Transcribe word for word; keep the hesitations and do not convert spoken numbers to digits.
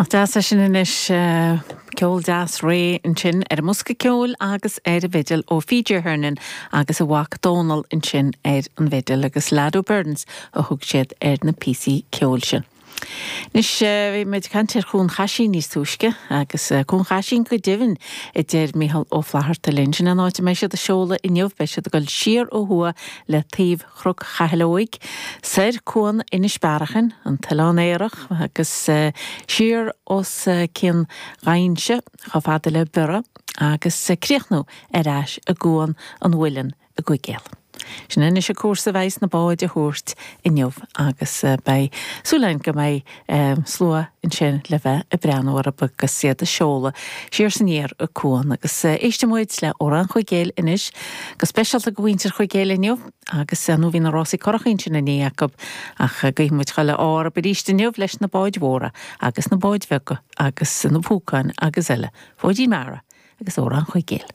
Nach deas é sin anois ceol deas réidh ansin ar an mbosca ceoil agus ar an bhfidil ó PJ Hernon agus a mhac Dónal ansin ar an bhfidil agus Lado Burns a thug siad ar na píosaí ceoil sin. Anois bhí muid ag caint ar Chuan Chaisín níos túisce agus Cuan Chaisín go deimhin a deir Mícheál Ó Flatharta linn sin an áit a mbeidh siad ag seoladh inniu beidh siad ag dul siar ó thuaidh le taobh Chnoc Chathail Óig, soir Cuan Inis Bearachain, an tOileán Aerach agus siar os cionn Ghainse chomh fada le Biorra agus críochnú ar ais i gCuan an Mhuilinn i gCuigéal. Sin anois an cúrsa a bheidh na báid a thabhairt inniu agus beidh súil againn go mbeidh slua ansin le bheith ag breathnú orthu agus iad ag seoladh siar is aniar an cuan agus éistfidh muid le Amhrán Chuigéil anois go speisialta do mhuintir Chuigéil inniu agus nó bhí na rásaí curach sin inné acu ach guífidh muid chuile ádh orthu arís inniu leis na báid mhóra agus na báid bheaga agus na púcáin agus eile. Fóidín Mara agus Amhrán Chuigéil.